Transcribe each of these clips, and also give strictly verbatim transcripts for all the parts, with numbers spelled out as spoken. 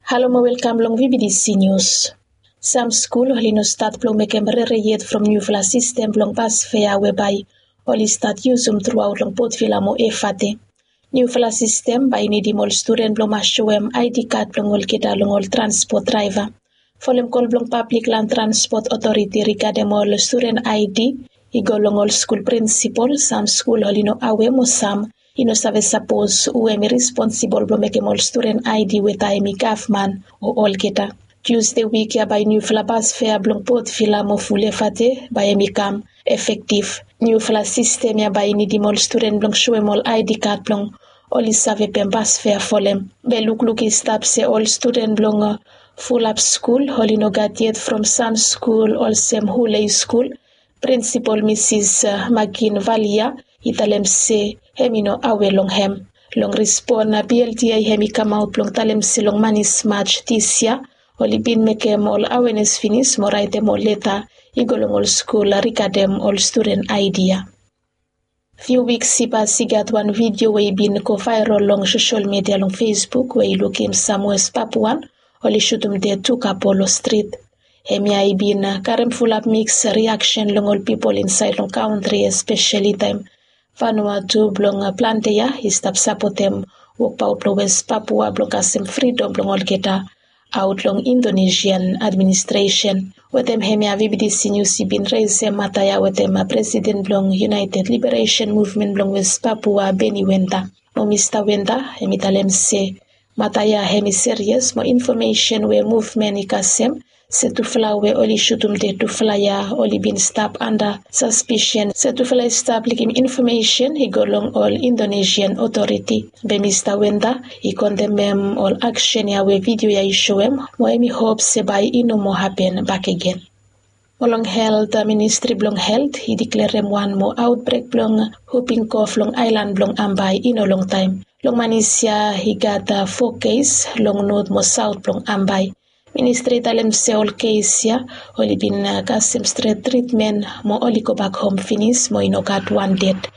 Halo mo welkam long V B D C News. Sam skul oli no stat blong mekem rere yet from niufala sistem blong bas fea we bae oli stat yusum truaot long Potvila mo Efate. Niufala sistem bae i nidim ol studen blong mas soem ID kad blong olgeta long ol transpot draeva. Folem kol blong Pablik Lan Transpot Otoriti rigadem ol studen ID i go long ol skul prinsipol. Sam skul oli no awe mo sam i no save sapos hu hem i responsibol blong mekem ol studen ID we taem i gavman o olgeta. Tusde wik ya bae niufala bas fea blong Potvila mo Efate bae hem i kam efektiv. Niufala sistem ya bae i nidim ol studen blong soem ol ID kad blong oli save pem bas fea folem. Be lukluk i stap se ol studen blong fulap skul oli no gat yet from sam skul olsem Hulei skul. Prinsipol Misis Makin Valia i talem se hem i no awe long hem. Long respon na BLTI hem i kamaot blong talem se long manis Maj disya oli bin mekem ol awenes finis mo raetem ol leta i go long ol skul rigadem ol studen ID ya. Fiu wiks i pas i gat wan vidio we i bin go vaerol long sosol media long Facebook we i lukim sam Wes Papuan oli sutum ded tu kapo long strit. Hemia i bin karem fulap miks riaksen long ol pipol insaed long kantri, espeseli taem Vanuatu blong plante ya i stap sapotem wokbaot blong Wes Papua blong kasem fridom blong olgeta aot long Indonesian administresen. Wetem hemia VBTC Nius i bin resem mata ya wetem presiden blong United Liberation Movement blong Wes Papua, Beni Wenta. Mo Mista Wenta hem i talem se mata ya hem i serias mo infomesen we muvmen i kasem se tufala we oli sutum ded tufala ya oli bin stap anda saspisen se tufala i stap likim infomesen i go long ol Indonesian otoriti. Be Mista Wenta i kondemem ol aksen ya we vidio ya i soem mo hem i hop se bae i no moa hapen bakegen. Mo long helt, ministri blong helt i diklerem wan moa aotbrek blong huping kof long aelan blong Ambae i no longtaem. Long manis ya i gat fo kes long not mo saot blong Ambae. Ministri i talem se ol kes ya oli bin kasem stret tritmen mo oli gobak hom finis mo i no gat wan ded.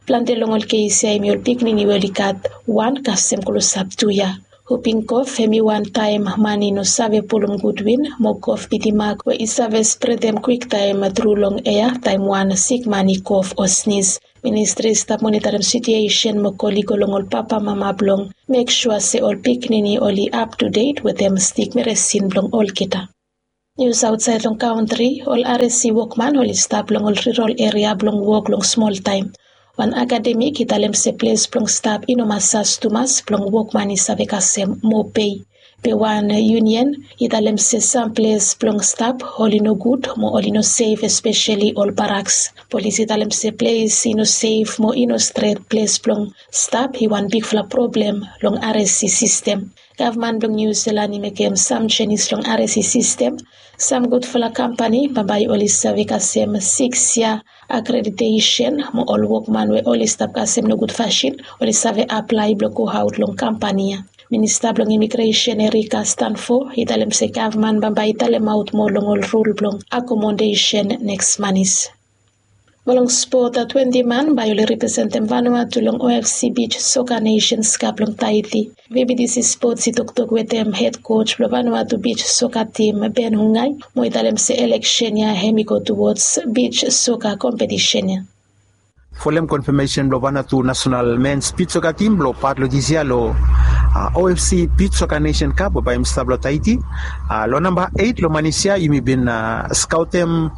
Plante long ol kes ya hem i ol pikinini we oli gat wan kasem klosap tu ya. Huping kof hem i wan taem man i no save pulum gud win mo kof bitimak we i save spredem kwiktaem tru long ea taem wan sikman i kof o snis. Ministri i stap monitarem sitiesen mo kol i go long ol papamama blong mek sua se ol pikinini oli aptudet wetem stik meresin blong olgeta. Nius aotsaed long kantri, ol RSE wokman oli stap long ol rirol eria blong wok long smoltaem. Wan akademik i talem se ples blong stap i no masas tumas blong wokman i save kasem moa pei. Be wan yunian i talem se sam ples blong stap oli no gud mo oli no sef, espeseli ol baraks. Polis i talem se ples i no sef mo i no stret ples blong stap i wan bigfala problem long RSE sistem. Gavman blong Niu Silan i mekem sam jenis long RSE sistem. Sam gudfala kampani bambae oli save kasem siks yia akreditesen mo ol wokman we oli stap kasem nogud fasin oli save aplae blong goaot long kampani ya. Minista blong imigresen Erika Stanfo i talem se gavman bambae i talemaot moa long ol rul blong akomodesen neks manis. Mo long spot, twenti man bae oli representem Vanuatu long OFC Beach Soccer Nations Cup long Taiti. VBTC Sports i toktok wetem hed koj blong Vanuatu Beach Soccer Team, Ben Hungai, mo i talem se eleksen ya hem i go tuwods beach soccer kompetisen ya. Folem konfamesen blong Vanuatu nasonal mens beach soccer team blong pat long disia long OFC Beach Soccer Nation Cup we bae hem stap long Taiti. Long namba eit long manis ya yumi bin skaotem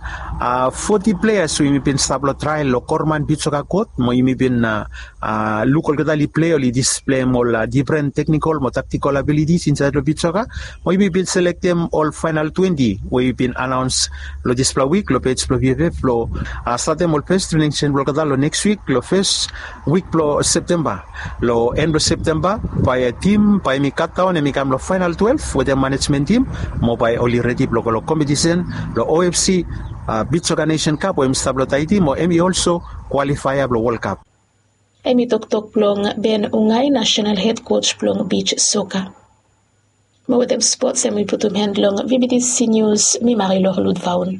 foti pleas we yumi bin stap long trael long Korman Beach Soccer Kot mo yumi bin luk olgeta oli plei, oli displeim ol difren teknikol mo taktikol abilitis insaed long beach soccer. Mo yumi bin selektem ol faenal twenti we yumi bin anaons long dispela wik long pej blong VFF blong statem ol fes trening seson blong olgeta long neks wik long fes wik blong Septemba. Long en blong Septemba bae tim bae hem i katdaon hem i kam long faenal twelef wetem manejmen tim mo bae oli redi blong go long kompetisen blong OFC Beach Soccer Nation Cup we hem i stap long Taiti mo hem i olso kwalifaea blong Wol Kap. Hem i toktok blong Ben Ungai, nasonal hed koj blong beach soccer. Mo wetem spots hem i putum han long VBTC Nius, mi Marilor Ludvaun.